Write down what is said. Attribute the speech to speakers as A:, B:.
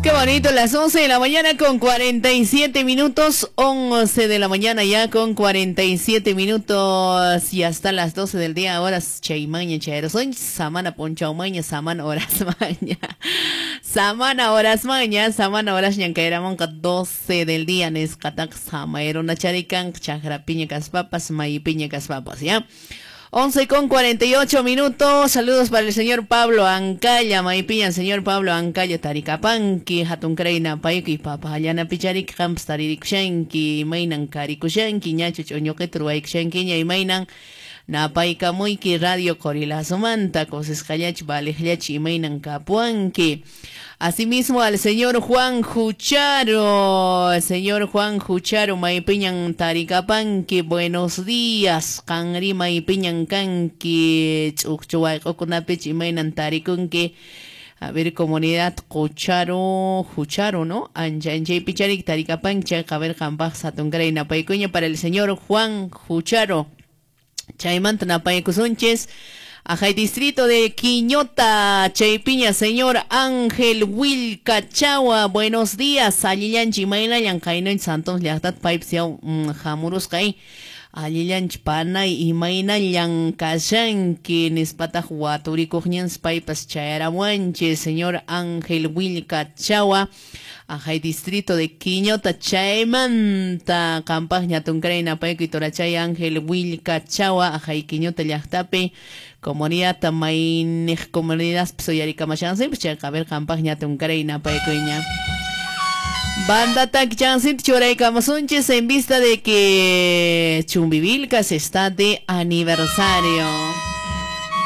A: Qué bonito, las 11 de la mañana con 47 minutos, 11 de la mañana ya con 47 minutos y hasta las 12 del día, horas chaymaña, chayrosoñ, samana ponchaumaña, samana horas maña, samana horas maña, samana horas ñankairamonqa 12 del día, nesqataqa samayruna charikan, chaqrapiña kaspapas, maypiña kaspapas, ¿ya? 11 con 48 minutos. Saludos para el señor Pablo Ancalla. Maypiñan, señor Pablo Ancalla, Taricapanqui, Hatuncrayna, Payki, Papa, Allana Picharik, Camps, Taririkushanki, Maynan Karikushanki, Ñacho, Ch'uñuqitu, Ruwaykushankiña, Imaynan, Napaykamuyki, Radio Qorilazumanta, Kusisqallachu, Valiqllachu, Imaynan Kapuanki. Asimismo al señor Juan Jucharo, señor Juan Jucharo, maypiñan Taricapanqui, buenos días, qanri maypiñan kanki, ch'uqchu wayq'ukunapich imaynan tarikunki. A ver, comunidad Jucharo, Jucharo, ¿no? Ancha, anchay picharik Taricapanqui, chayqa a ver, qampaq hatunkaray napaykuña para el señor Juan Jucharo. Chaymanta napaykusunchis. Ajay distrito de Quiñota, Chaypiña, señor Ángel Wilcachawa, buenos días, allillanchi imaynallan kaynoy Santos llaqtat paypis yaw hamurusqay, allillanchi panay imaynallan kashanki nispataq waturikuqñansi paypas chayaramuanchis, señor Ángel Wilcachawa, ajay distrito de Quiñota, chaymanta qampaqña hatunkaray napaykuy torachay Ángel Wilcachawa, ajay Quiñota llaqtapi, comunidad mayniq comunidad uyarikamashansi chayqa a ver qampaqña hatunkaray napaykuyña. Banda Takchansit churaykamusunchis en vista de que Chumbivilcas está de aniversario.